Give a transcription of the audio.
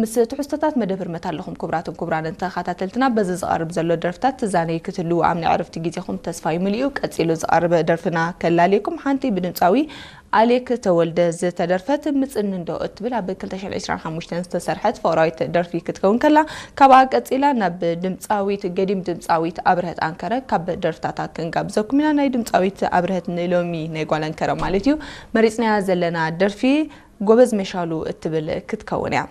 ምስ ትሕዝቶታት መደብ ህርመት ኣለኹም። ክቡራትን ክቡራንን ተኸታተልትና፣ በዚ ዝቐርብ ዘሎ ደርፍታት ትዛነዩ ክትህልዉ ኣብ ናይ ዕረፍቲ ግዜኹም ተስፋ ይምልኡ። ቀጺሉ ዝቐርብ ደርፍና ከላልየኩም፣ ሓንቲ ብድምጻዊ ኣሌክ ተወልደ ዝተደርፈት ምጽንንዶ እትብል ኣብ ክልተ ሽሕን ዕስራን ሓሙሽተን ዝተሰርሐት ፍቕራዊት ደርፊ ክትከውን ከላ፣ ካብኣ ቀጺላ ናብ ድምጻዊት፣ ገዲም ድምጻዊት ኣብርሀት ኣንከረ ካብ ደርፍታታ ክንጋብዘኩም ኢና። ናይ ድምጻዊት ኣብርሀት ንሎሚ ናይ ጓል ኣንከረ ማለት እዩ መሪጽናያ ዘለና ደርፊ ጎበዝ መሻሉ እትብል ክትከውን እያ።